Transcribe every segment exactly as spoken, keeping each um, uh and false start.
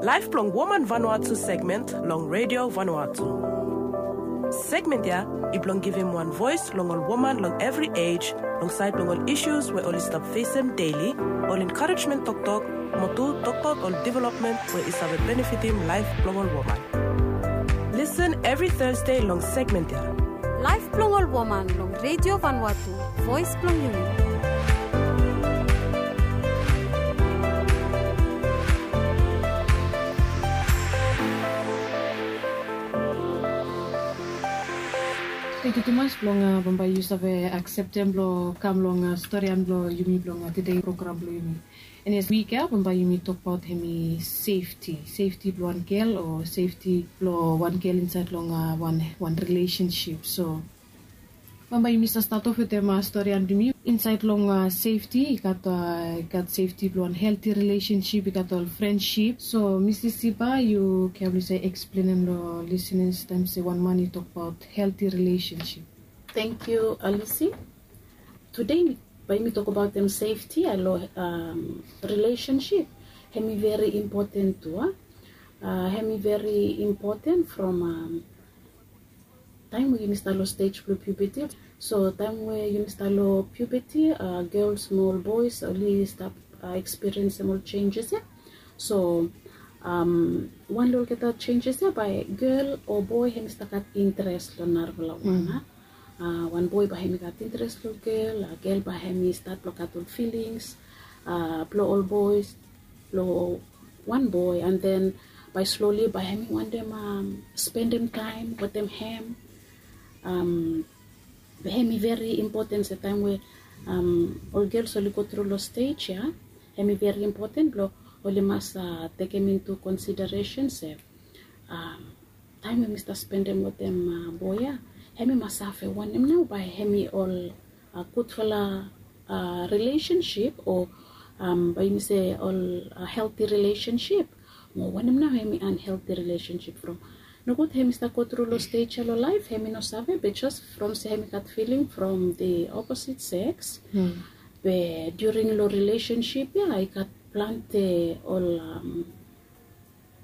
Laef blong Woman Vanuatu segment long Redio Vanuatu. Segment ya i blong givim wan voes long ol woman long evri ej long saed blong ol isus we oli stap fesem deli, ol enkarejmen toktok, mo tu tokbaot ol developmen we i save benefitim laef blong ol woman. Lisen evri Thursday long segment ya. Laef blong ol woman long Redio Vanuatu, voes blong yumi. Tangkiu tumas blong bambae yu save akseptem blong kam long storian blong yumi blong tede program blong yumi. Yes, wik ya bambae yumi tokbaot hemi sefti, sefti blong wan gel o sefti blong wan gel insaed long wan, wan rilesensip. So bambae yumi save stat of wetem storian blong yumi. Insaed long sefti i gat, i gat sefti blong wan helti rilesensip, i gat ol frensip. So Misis Siba, yu kam blong yu save eksplenem long liseners taem se wan man i tokbaot helti rilesensip. Tangkiu Alisi. Tede bae yumi tokbaotem sefti ya long rilesensip. Hemi veri impoten tu a, hemi veri impoten from taem we yumi stap long stej blong puberti. So taem we yumi stap long puberti, gels mo ol boes oli stap ekspiriensem ol jenjes ya. So wan long olgeta jenjes ya bae gel o boe hemi stap gat interes long narafala wan. Wan boe bae hemi gat interes long gel, gel bae hemi stat blong gat ol filings blong ol boes, blong wan boe, and then bae sloli bae hemi wantem spendem taem wetem hem. Be hemi veri impoten se taem we ol gels oli gotru long stej ya, hemi veri impoten blong oli mas tekem intu konsideresen se taem we mi stap spendem wetem boe ya, hemi mas save wanem nao bae hemi ol gudfala rilesensip o bae yumi se ol helti rilesensip, mo wanem nao hemi anhelti rilesensip from. Nogud hemi stap gotru long stej ya long laef, hemi no save, be jes from se hemi gat filing from the opposite sex. Be during long rilesensip ya i gat plante ol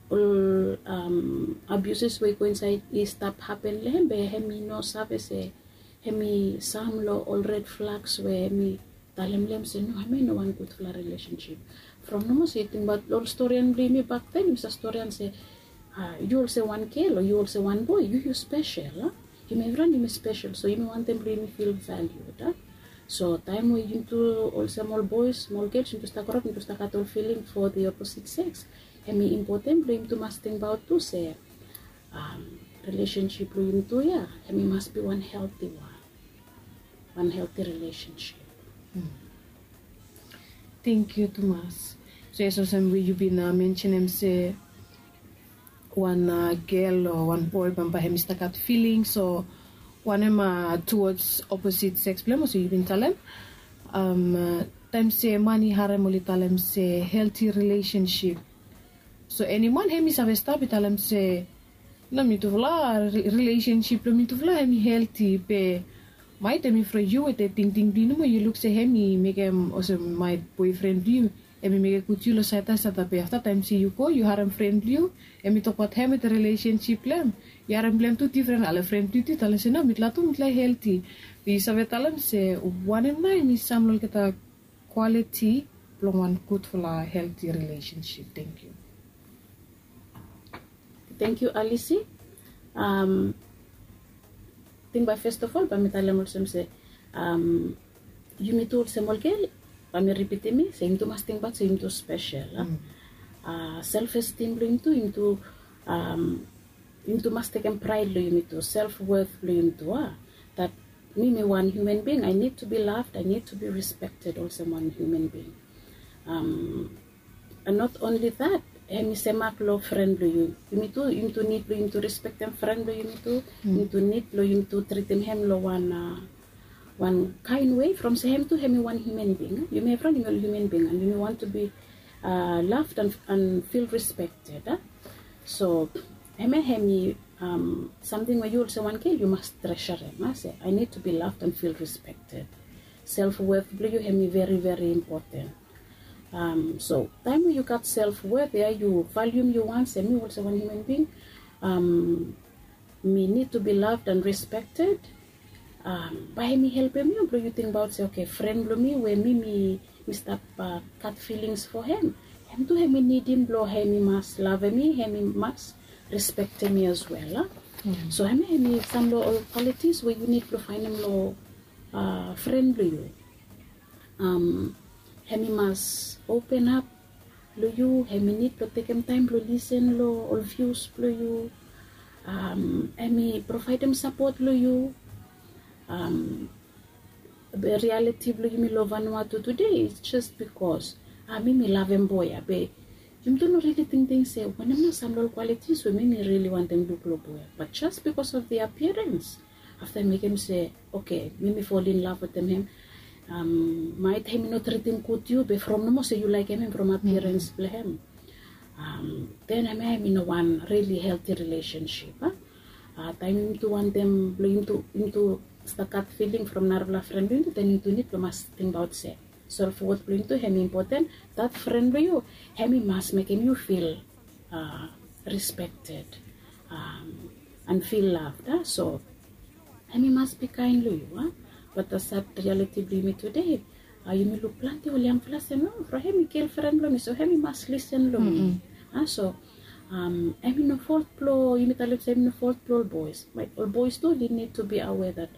ol abuses we i go insaed i stap hapen long hem, be hemi no save se hemi sam long ol red flags we hemi talem long hem se no, hemi no wan gudfala rilesensip. From nomo se yu tingbaot ol storian blong yumi baktaem, yumi save storian se yu olsem wan gel o yu olsem wan boe, yu yu spesel. Yumi evriwan yumi spesel, so yumi wantem blong yumi fil valued. So taem we yumi tu olsem ol boes mo ol gels yumi tu stap groap, yumi tu stap gat ol filing for the opposite sex, hemi impoten blong yumi tu mas tingbaot tu se rilesensip blong yumi tu ya hemi mas bi wan helti wan, wan helti rilesensip. Tangkiu tumas. So yes, olsem we yu bin mensenem se wan gel o wan boe bambae hemi stap gat filing o wanem tuwards opposite sex blong hem, olsem yu bin talem. Taem se man i harem oli talem se helti rilesensip. So eni man hemi save stap i talem se no, mitufala rilesensip blong mitufala hemi helti, be maet hemi from yu wetem tingting blong yu nomo, yu luk se hemi mekem olsem maet boefren blong yu hemi mekem i put yu long saed ya saed ya, be afta taem se yu go yu harem fren blong yu hemi tokbaot hem wetem rilesensip blong hem, yu harem blong hem tu difren, ale fren blong yu tu i talem se no, mitufala tu mitufala helti. Be yu save talem se wanem nao hemi sam long olgeta kwaliti blong wan gudfala helti rilesensip? Tangkiu. Tangkiu Alisi. Ating bae fes of ol bae mi talem olsem se yumi tu olsem ol gel, bae mi ripitim se yumi tu mas tingbaot se yumi tu spesel. Self esteem blong yumi tu, yumi tu yumi tu mas tekem praed long yumi tu, self worth blong yumi tu, a, that mi mi wan human being, I need to be loved, I need to be respected olsem wan human being. And not only that, hemi semak long fren blong yu. Yumi tu, yumi tu nid blong yumi tu rispektem fren blong yumi tu. Yumi tu nid blong yumi tu tritim hem long wan wan kaen wei from se hem tu hemi wan human being. Yumi evriwan yumi ol human being and yumi want to be loved and feel respected. So hemia hemi samting we yu olsem wan gel yu mas tresurem, se I need to be loved and feel respected. Self worth blong yu hemi very very important. Um, so taem we yu gat self worth ya, yu valium yu wan se mi olsem wan human being, um, mi need to be loved and respected. Um, bae hemi helpem yu blong yu tingbaot se okay, fren blong mi we mi mi mi stap gat feelings for hem, hem tu hemi nidim blong hemi mas lavem mi, hemi mas respektem mi as well. So hemi hemi sam long ol qualities we yu nid blong faenem long fren blong yu. Hemi mas open ap long yu, hemi nid blong tekem taem blong lisen long ol vius blong yu. Hemi provaedem sapot long yu. Be rialiti blong yumi long Vanuatu tude is jes bikos mi mi lavem boe ya, be yumi tu no rili tingting se wanem nao sam long ol qualities we mi mi rili wantem luk long boe ya. Bat jes bikos of the appearance, afta mekem se okay, mi mi fol in lav wetem hem. Maet hemi no tritim gud yu, be from nomo se yu laekem hem from appearance blong hem. Den hemia hemi no wan rili helti rilesensip. Taem yumi tu wantem blong yumi tu stap gat filing from narafala fren blong yumi tu, den yumi tu nid blong mas tingbaot se self worth blong yumi tu hemi impoten. Dat fren blong yu hemi mas mekem yu fil respected and feel loved. So hemi mas bikaen long yu. Bat the sad reality blong yumi tude, yumi luk plante ol yangfala se no, from hemi gelfren blong mi, so hemi mas lisen long mi. So hemi no fol blong yumi talem se hemi no fol blong ol boes. Ol boes tu oli nid to be aware that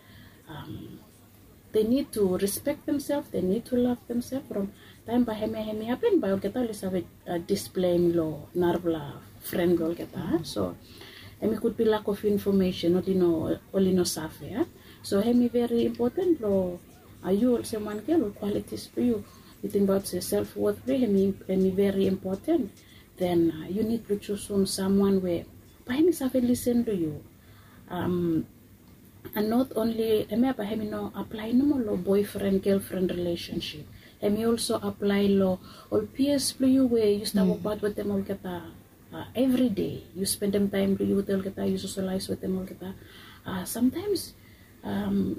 they nid to respek demsel, they nid to lav demsel. From taem bae hemia hemi hapen, bae olgeta oli save displem long narafala fren blong olgeta. So hemi gud bi lak of infomesen, oli no save ya. So hemi veri impoten blong yu olsem wan gel, ol qualities blong yu, yu tingbaot se self worth blong yu hemi veri impoten. Den yu nid blong jusum samwan we bae hemi save lisen long yu. And not only hemia, bae hemi no aplae nomo long boefren gelfren rilesensip. Hemi olso aplae long ol pias blong yu we yu stap wokbaot wetem olgeta. Evri dei yu spendem taem blong yu wetem olgeta, yu sosolaes wetem olgeta. Samtaems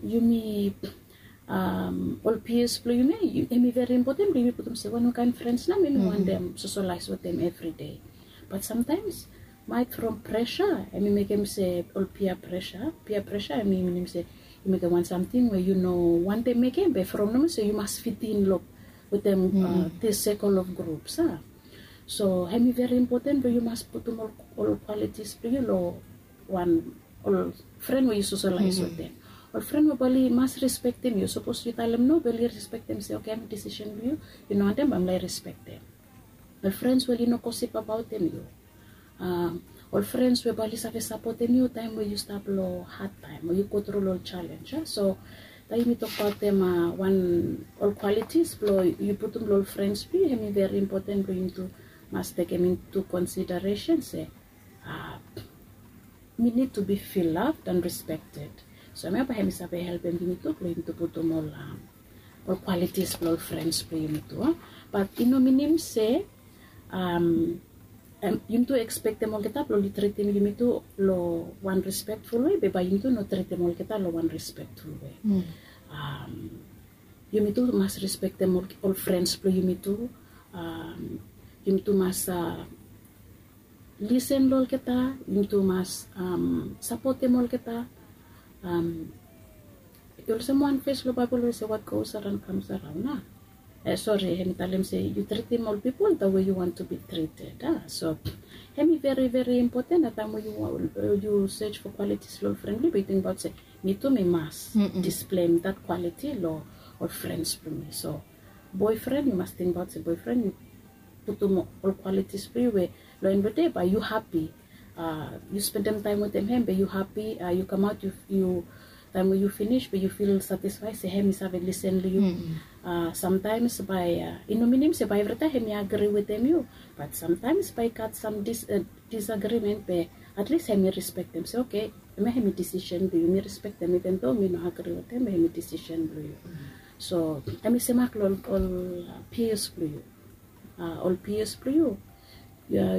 yumi ol pias blong yumi, hemi veri impoten blong yumi putum se wanem kaen frens nao mi mi wantem sosolaes wetem evri dei. Bat samtaems maet from presa hemi mekem se ol pia presa, pia presa hemi minim se yu mekem wan samting we yu no wantem mekem, be from nomo se yu mas fitin long wetem this circle of groups. So hemi veri impoten blong yu mas putum ol qualities blong yu long wan ol fren we yu sosolaes wetem. Ol fren we bae oli mas respektem yu. Sapos yu talem no, bae oli respektem se okay, hemi disisen blong yu, yu no wantem, bae oli respektem. Ol frens we oli no gosip abaotem yu. Ol frens we bae oli save sapotem yu taem we yu stap long had taem o yu go tru long ol jalenj. So taem yumi tokbaotem wan ol qualities blong yu putum long ol frens blong yu, hemi veri impoten blong yumi tu mas tekem into consideration se mi nid tu bi fil loved and respected. So hemia bae hemi save helpem yumi tu blong yumi tu putum ol ol qualities blong ol frens blong yumi tu. Bat i no minim se yumi tu ekspektem olgeta blong oli tritim yumi tu long wan respekful we, be bae yumi tu no tritim olgeta long wan respekful we. Yumi tu mas respektem ol frens blong yumi tu. Yumi tu mas lisen long olgeta, yumi tu mas sapotem olgeta. Olsem wan ves long Baebol we se what goes around comes around, a? Sori, hemi talem se yu tritim ol pipol the way you want to be treated, a? So hemi veri veri impoten. Taem we yu search for qualities long ol fren blong yu, be yu tingbaot se mi tu mi mas displem that quality long ol frens blong mi. So boefren, yu mas tingbaot se boefren, yu putum ol qualities blong yu we long en blong dei bae yu hapi. Yu spendem taem wetem hem, be yu hapi. Yu kamaot, yu taem we yu finis, be yu fil satisfae se hem i save lisen long yu. Samtaems bae i no minim se bae evritaem hem i agri wetem yu, bat samtaems bae i gat sam disagrimen, be atlis hem i respektem se okay, hemia hem i disisen blong yu, mi respektem, iven do mi no agri wetem, be hem i disisen blong yu. So hem i semak long ol pias blong yu. Ol pias blong yu,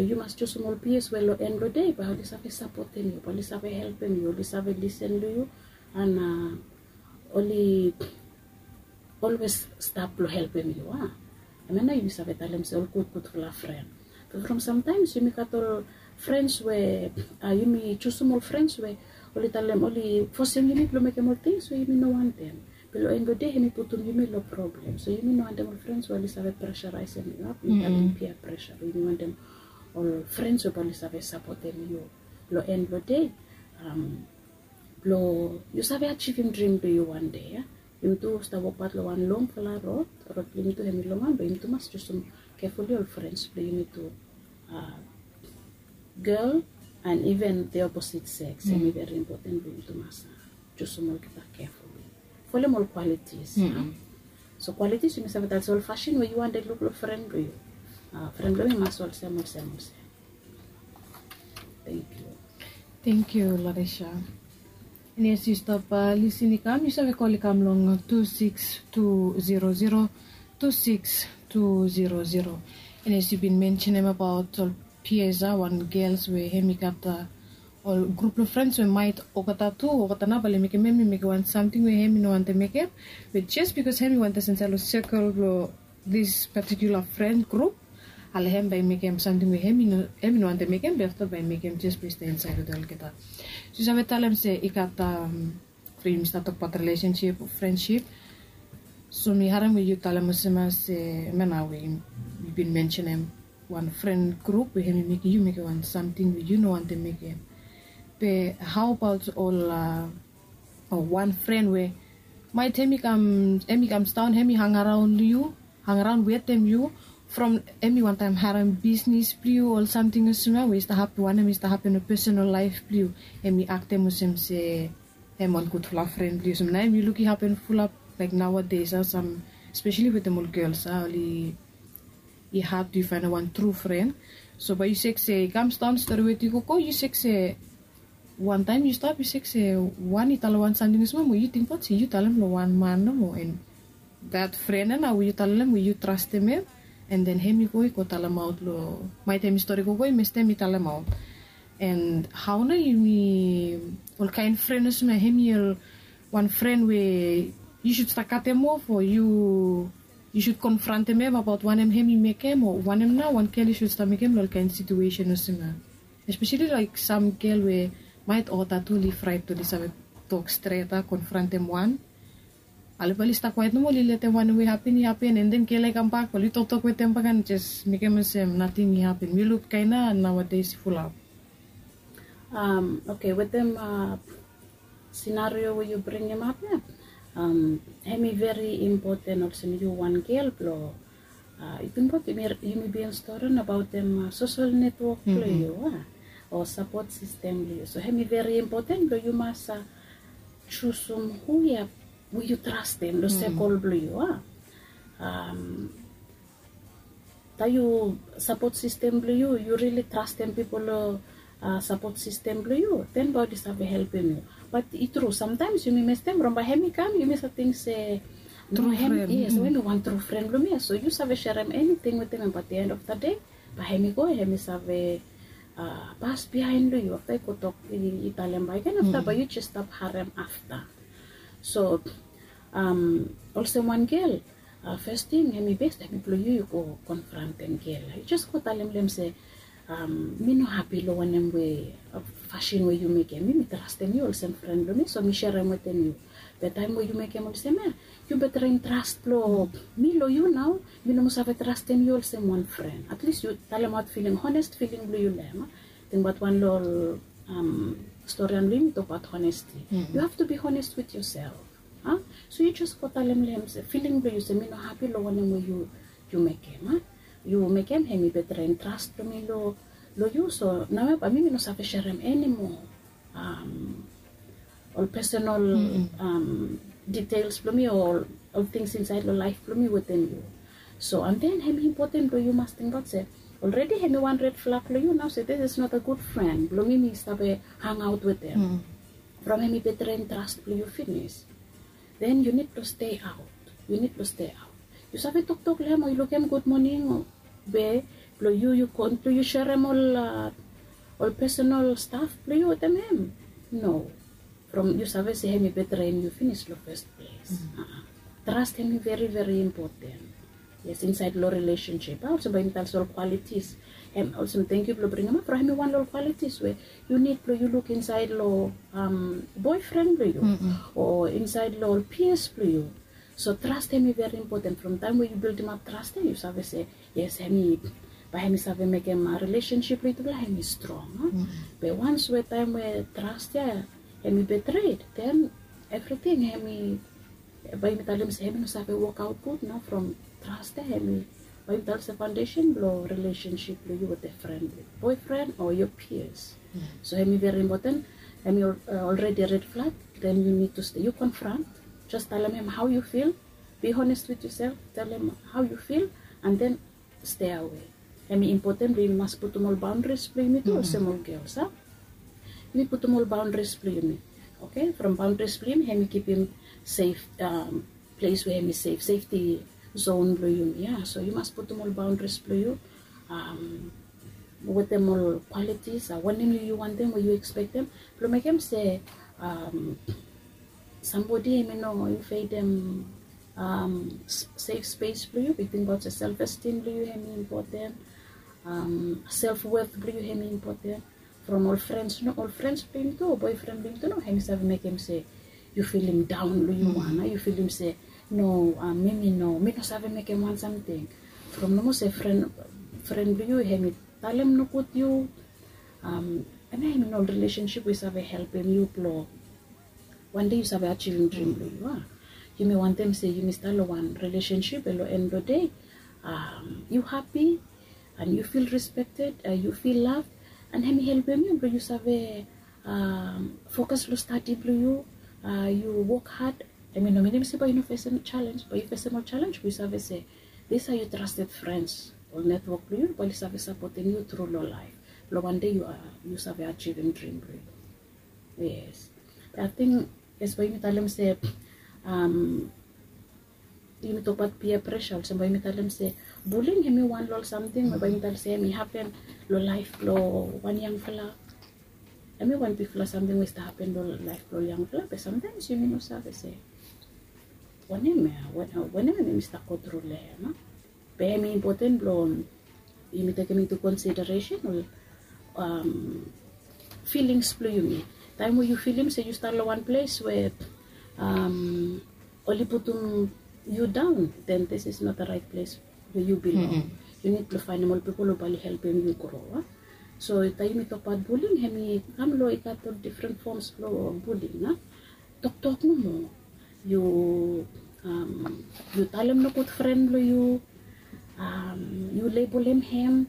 yu mas jusum ol pias we long en blong dei bae oli save sapotem yu, bae oli save helpem yu, oli save lisen long yu, and oli olwes stap blong helpem yu, a? Hemia nao yumi save talem se ol gudgudfala fren. Be from samtaems yumi gat ol frens we, yumi jusum ol frens we oli talem, oli fosem yumi blong mekem ol tings we yumi no wantem. Be long en blong dei hemi putum yumi long problem. So yumi no wantem ol frens we oli save presaraesem yumi, talem pia presa. Yumi wantem ol frens we bae oli save sapotem yu long en blong dei, blong yu save ajivim drim blong yu wan dei. Yumi tu stap wokbaot long wan longfala rod, rod blong yumi tu hemi long wan, be yumi tu mas jusum kefuli ol frens blong yumi tu, gel and even the opposite sex. Hemi veri impoten blong yumi tu mas jusum olgeta kefuli. Folem ol kwalitis. So kwalitis yumi save talem se ol fasin we yu wantem luk long fren blong yu. Fren blong yu i mas olsem, olsem, olsem. Thank you. Thank you, Larisha. And yes, yu stap lisin i kam, yu save kol i kam long two six two zero zero, two six two zero zero. And yes, yu bin mensenem abaot ol P S, wan gels we hemi gat ol grup blong frens we maet olgeta tu, olgeta nao bae oli mekem hem i mekem wan samting we hemi no wantem mekem. Be jes bikos hemi wantem stap insaed long sekel blong this particular friend group, ale hem bae i mekem samting we hemi no, hemi no wantem mekem, be afta bae i mekem jes bikos i stap insaed long olgeta. So yu save talem se i gat, from yumi stap tokbaot relationship o friendship. So mi harem we yu talem olsem ia se, hemia nao we yu bin mensenem wan friend group we hemi mekem yu mekem wan samting we yu no wantem mekem. Be how about ol wan fren we maet hemi kam, hemi kam sidaon, hemi hangaraon long yu, hangaraon wetem yu, from hemi wantaem harem bisnis blong yu o ol samting olsem ia we i stap hapen, wanem i stap hapen long pesonal laef blong yu, hemi aktem olsem se hem wan gudfala fren blong yu. So nao hemi luk i hapen fulap, laek, nowadays ia, sam, especially wetem ol gels ia, oli, i had blong yu faenem wan tru fren. So bae yu sek se i kam sidaon stori wetem yu gogo, yu sek se wantaem yu stap, yu sek se wan i talem wan samting olsem ia, mo yu tingbaot se yu talem long wan man nomo, and that fren ia nao we yu talem, we yu trastem hem, and then hemi go i go talemaot long, maet hemi stori gogo i mestem i talemaot. And hao nao yumi, ol kaen fren olsem ia, hemi ol wan fren we yu sud stap katem of o yu, yu sud konfrantem hem abaot wanem hemi mekem o wanem nao wan gel i sud stap mekem long ol kaen situesen olsem ia. Espeseli laek sam gel we maet olgeta tu oli fraet blong oli save tok stret ia, konfrantem wan. Ale bae oli stap kwaet nomo, oli letem wanem we i hapen i hapen, and then gel i kambak, oli toktok wetem bak and jes mekem olsem nating i hapen. Mi luk kaen ia nowadays i fulap. Oke, wetem senario we yu bringim ap ia, hemi veri impoten olsem yu wan gel blong, yu tingbaot yumi bin stori nabaot social network blong yu, o support system blong yu. So hemi veri impoten blong yu mas jusum hu ia we yu trastem long sekol blong yu. Taem yu, support system blong yu, yu rili trastem pipol long support system blong yu, then bae oli save helpem yu. Bat i tru, samtaems yumi mestem from bae hemi kam, yumi save ting se, no, hemi wan tru fren blong mi ia. So yu save serem eniting wetem hem, bat the end of the day bae hemi go, hemi save pas biaen long yu afta i go tok, i talem bakegen, afta bae yu jes stap harem afta. So olsem wan gel, fes ting hemi bes taem blong yu, yu go konfrantem gel ia. Yu jes go talem long hem se, mi no hapi long wanem we, fasin we yu mekem mi. Mi trastem yu olsem fren blong mi, so mi serem wetem yu. Be taem we yu mekem olsem ia, yu betrem tras blong mi long yu nao. Mi no moa save trastem yu olsem wan fren. At least yu talemaot filing, honest filing blong yu long hem. Tingbaot wan long ol stori ia blong yumi tokbaot honesty. You have to be honest with yourself. So yu jes go talem long hem se filing blong yu se mi no hapi long wanem we yu mekem. Yu mekem hemi betrem tras blong mi long yu. So nao ia bae mi, mi no save serem anymore ol personal details blong mi o ol tings insaed long laef blong mi wetem yu. So and then hemi impoten blong yu mas tingbaot se already hemi wan red flag long yu nao se this is not a good friend blong mi mi save hangaot wetem. From hemi betrem tras blong yu finis, then yu nid blong stay out. Yu nid blong stay out. Yu save toktok long hem o yu lukim gud moning o be blong yu, yu kon blong yu serem ol ol personal staf blong yu wetem hem? No. From yu save se hemi betrem yu finis long fes ples. Tras hemi veri veri impoten. Yes, insaed long relationship a, olsem bae yumi talem se ol qualities. Em olsem, thank you blong bringim ap, from hemi wan long ol qualities we yu nid blong yu luk insaed long boyfriend blong yu o insaed long ol peers blong yu. So trust hemi very important. From taem we yu bildim ap trust ya, yu save se yes, hemi bae hemi save mekem relationship blong yutufala hemi strong. Be once we taem we trust ya hemi betrayed, then everything hemi, bae yumi talem se hemi no save wokaot gud nao. From trust ya hemi, bae yumi talem se foundation blong relationship blong yu wetem friend, boyfriend o your peers. So hemi very important. Hemi already red flag. Then you need to stay, you confront. Just talem hem how you feel. Be honest with yourself. Talem how you feel and then stay away. Hemi important blong yumi mas putum ol boundaries blong yumi tu olsem ol girls a. Yumi putum ol boundaries blong yumi. Okay, from boundaries blong yumi hemi kipim safe, place we hemi safe, safety zone blong yumi a. So yu mas putum ol boundaries blong yu wetem ol qualities a, wanem yu wantem we yu expectem blong mekem se somebody hemi no invadetem safe space blong yu. Be tingbaot se self esteem blong yu hemi important, self worth blong yu hemi important. From ol friends, no, ol friends blong yumi tu o boyfriend blong yumi tu no hemi save mekem se yu filim daon long yu wan a, yu filim se no, mi mi no, mi no save mekem wan samting. From nomo se friend blong yu hemi talem nogud yu, hemia hemi no ol relationship we i save helpem yu blong wan dei yu save ajivim drim blong yu a. Yumi wantem se yumi stap long wan relationship we long end blong dei yu happy and yu feel respected, yu feel love, and hemi helpem yu blong yu save fokas long stadi blong yu, yu wok had. Hemi no minim se bae yu no fesem challenge, bae yu fesem ol challenge we yu save se these are your trusted friends, ol network blong yu bae oli save sapotem yu tru long laef blong wan dei yu save ajivim drim blong yu. Yes. Ating yes, bae yumi talem se yumi tokbaot peer pressure, olsem bae yumi talem se bullying hemi wan long ol samting we bae yumi talem se hemi hapen long laef blong wan yangfala. Hemi wan bigfala samting we i stap hapen long laef blong ol yangfala, be samtaems yumi no save se wanem ya, wanem hemi stap go tru long hem a. Be hemi important blong yumi tekem into consideration ol feelings blong yumi. Taem we yu filim se yu stap long wan ples we oli putum yu daon, then this is not the right place we yu bilong. Yu nid blong faenem ol pipol we bae oli helpem yu gro a. So taem yumi tokbaot bullying, hemi kam long i gat ol different forms blong bullying a. Toktok nomo. Yu talem nogud fren blong yu, yu labelem hem.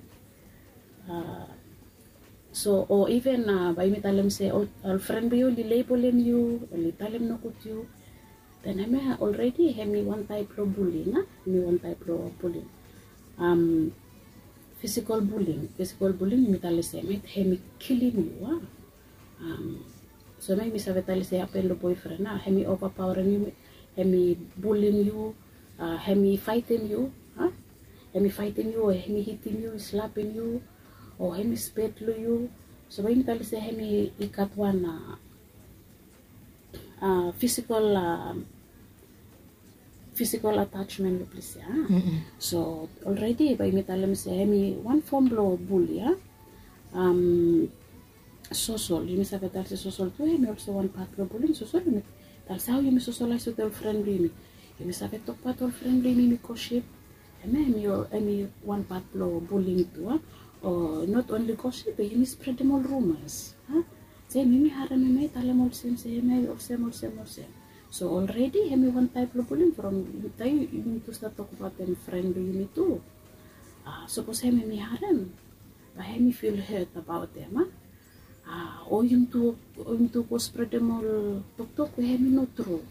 So o even bae yumi talem se ol fren blong yu oli labelem yu, oli talem nogud yu, then hemia already hemi wan taep blong bullying a. Hemi wan taep blong bullying. Physical bullying, physical bullying yumi talem se hemi kilim yu a. So hemia yumi save talem se i hapen long boefren a, hemi overpowerem yu, hemi bulim yu, hemi faetem yu a. Hemi faetem yu o hemi hitim yu, i slapem yu o hemi spet long yu. So bae yumi talem se hemi i gat wan physical physical attachment long ples ya. So already bae yumi talem se hemi wan fom blong buli ya. Sosol, yumi save talem se sosol tu hemi olsem wan pat blong buling. Sosol yumi talem se hao yumi sosolaes wetem ol fren blong yumi. Yumi save tokbaot ol fren blong yumi, yumi gosip. Hemia hemi wan pat blong buling tu a. O not only gosip be yumi spredem ol rumas a. Se yumi harem hemia i talem olsem se hemia i olsem olsem olsem. So already hemi wan taep blong buling from taem yumi tu stap tokbaotem fren blong yumi tu. Sapos hemi harem, bae hemi fil het abaotem a. O yumi tu go spredem ol toktok we hemi no tru.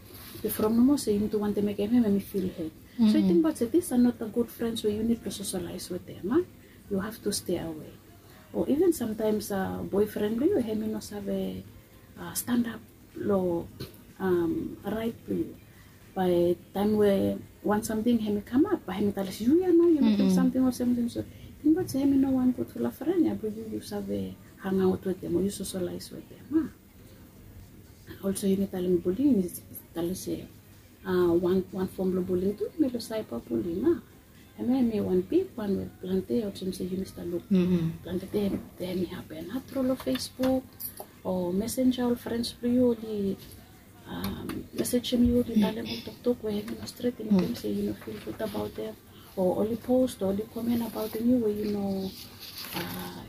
Be from nomo se yumi tu wantem mekem hem hemi fil het. So yu tingbaot se these are not the good friends we yu nid blong sosolaes wetem a. Yu have to stay away. O even samtaems boefren blong yu hemi no save stanap long raet blong yu. Bae taem we wan samting hemi kamap, bae hemi talem se yu ya nao yu mekem samting olsem olsem. So tingbaot se hemi no wan gudfala fren ya blong yu, yu save hangaot wetem o yu sosolaes wetem a. Olsem yumi talem buling, yumi talem se wan fom blong buling tu hemi long cyber buling a. Hemia hemi wan bigwan we plante olsem se yumi stap luk. Plante taem hemi hapen tru long Facebook o Messenger, ol frens blong yu oli mesejem yu, oli talem ol toktok we hemi no stret, i mekem se yu no feel good about them, o oli post o oli komen about them, yu we yu no,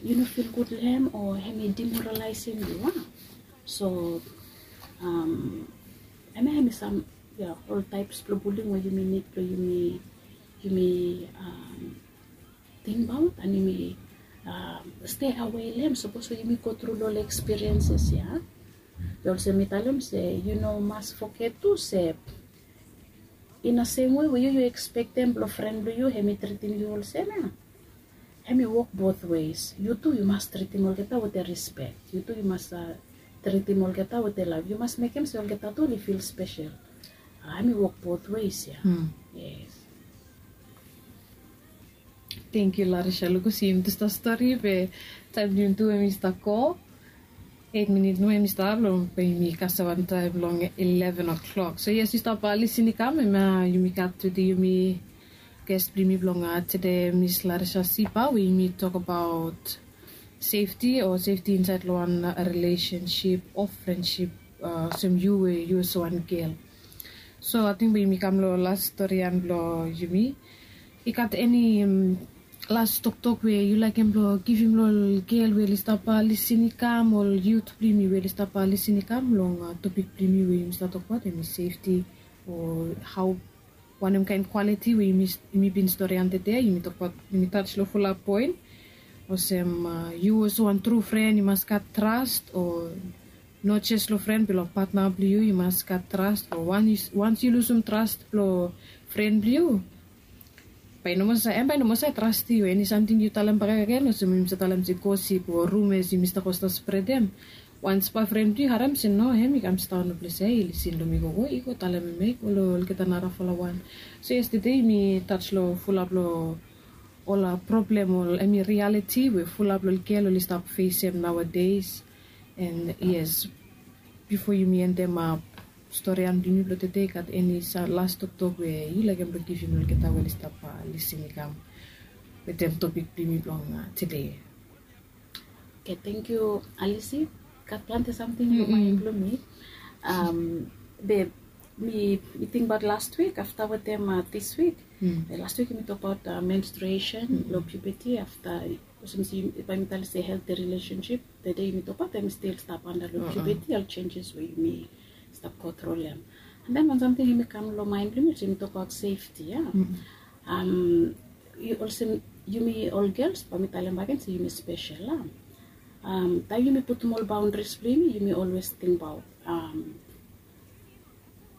yu no feel good long hem o hemi demoralizem yu a. So hemia hemi sam, ya, ol taeps blong bullying we yumi nid blong yumi, yumi tingbaot and yumi stay away long hem sapos we yumi go tru long ol experiences ya. Be olsem mi talem se yu no mas foget tu se in a same way we yu yu expectem blong fren blong yu hemi tritim yu olsem ya, hemi wok both ways. Yu tu yu mas tritim olgeta wetem respect. Yu tu yu mas tritim olgeta wetem lav. Yu mas mekem se olgeta tu oli feel special. Hemi wok both ways ya. Yes. Thank you, Larisha. Lukus, yumi tu stap stori be taem blong yumi tu hemi stap go. Eit minit nomo hemi stap long be yumi kasem wan taem long eleven o'clock. So yes, yu stap lisin i kam, hemia yumi gat tede yumi ges blong yumi blong tede, Miss Larisha Sipa, we yumi tokbaot safety o safety insaed long wan relationship o friendship, olsem yu we yu olsem wan gel. So ating be yumi kam long las storian blong yumi. I gat eni las toktok we yu laekem blong givim long ol gel we oli stap lisin i kam, ol yut blong yumi we oli stap lisin i kam long topik blong yumi we yumi stap tokbaot hemi safety o hao wanem kaen kwaliti we yumi bin storian tede, yumi tokbaot, yumi taj long fulap poen. Olsem yu olsem wan tru fren yu mas gat tras o no jes long fren be long patna blong yu yu mas gat tras o wans yu lusum tras blong fren blong yu, bae i no moa save, hem bae i no moa save trastem yu. Eni samting yu talem bakegen olsem yumi save talem se gosip o rumes yumi stap go stap spredem. Wans bae fren blong yu harem se no, hem i kam sidaon long ples ya, i lisin long mi gogo, i go talem hem ya i go long olgeta narafala wan. So yestede yumi taj long fulap long ol problem o hemi rialiti we fulap long ol gel oli stap fesem naoades. And yes, bifo yumi endem ap storian blong yumi blong tede, i gat eni las toktok we yu laekem blong givim long olgeta we oli stap lisin i kam wetem topik blong yumi blong tede? Okay, thank you, Alice. Gat plante samting long maen blong mi. Be mi, mi tingbaot last week afta wetem this week. Last week yumi tokbaot menstruation, long puberty, afta olsem se bae mi talem se healthy relationship. Tede yumi tokbaot hemi stil stap anda long puberty, ol changes we yumi stap go tru long hem. And then wan samting hemi kam long maen blong mi olsem yumi tokbaot safety ya. Olsem yumi ol gels bae mi talem bakegen se yumi spesel a. Taem yumi putum ol boundaries blong yumi, yumi always tingbaot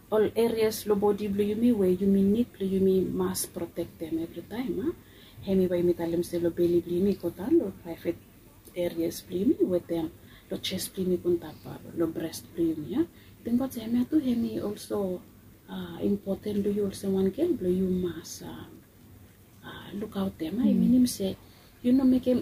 ol areas long bodi blong yumi we yumi nid blong yumi mas protektem evritaem a. Hemi bae yumi talem se long beli blong yumi i go daon long private areas blong yumi wetem long jes blong yumi go antap long bres blong yumi a. Tingbaot se hemia tu hemi also impoten long yu olsem wan gel blong yu mas lukaotem a. I minim se yu no mekem